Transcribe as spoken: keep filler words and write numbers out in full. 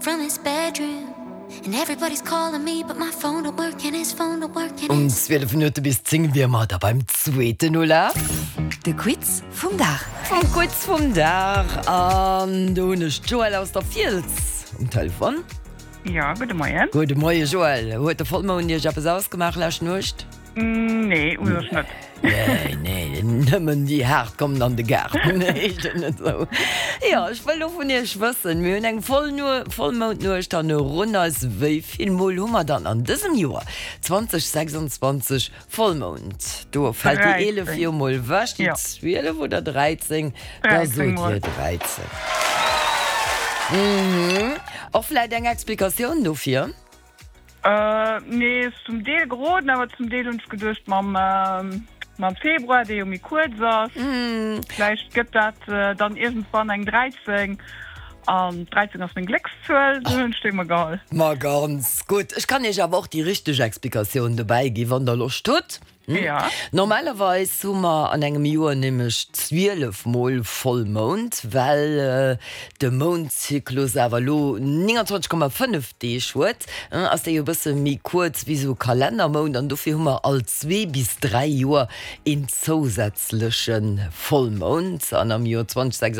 from his bedroom. And everybody's calling me, but my phone don't work and his phone don't work and Um his zwielef Minutte bis zéng wier mer da beim zweeten Ulaf. De Quiz vum Dag. Vum Quiz vum Dag. An do hunn ech d'Joëlle aus der Fiels um Telefon. Jo, gudde Moien. Gudde Moie Joëlle. Huet de Vollmound Iech eppes ausgemaach lescht Nuecht? Nee, u sech net. Nee, nee, nëmmen déi Haart kommen an de Gaart, heescht et net esou? Jo, ech wëll lo vun Iech wëssen, mir hunn eng Vollmoundnuecht hannerun eis, wéi vill Mol hu mer dann an dësem Joer zwanzeg sechsundzwanzeg Vollmound? Do fält déi eelef jo mol ewech, déi zwielef oder dräizéng? Da sot Dir dräizéng. Och vläit eng Explikatioun dofir? Nee, ass zum Deel geroden, awer zum Deel hunn ech geduecht mam mam Februar, dee jo méi kuerz ass, vläicht gëtt dat dann iergendwann eng dräizéng an dräizéng ass meng Gléckszuel, sou hunn ech déi emol geholl. Ma ganz gutt. Ech kann iech awer och déi richteg Explikatioun dobäi ginn, wann der Loscht hutt. Ja. Normalerweis hu mer an engem Joer nämlech zwielef Mol Vollmound, well de Moundzyklus awer elo nénganzwanzeg Komma fënnef Deeg huet, ass dee jo e bësse méi kuerz wéi esou e Kalennermount an dofir hu mer all zwee bis dräi Joer een zousätzleche Vollmound an am Joer zwanzeg sechsundzwanzeg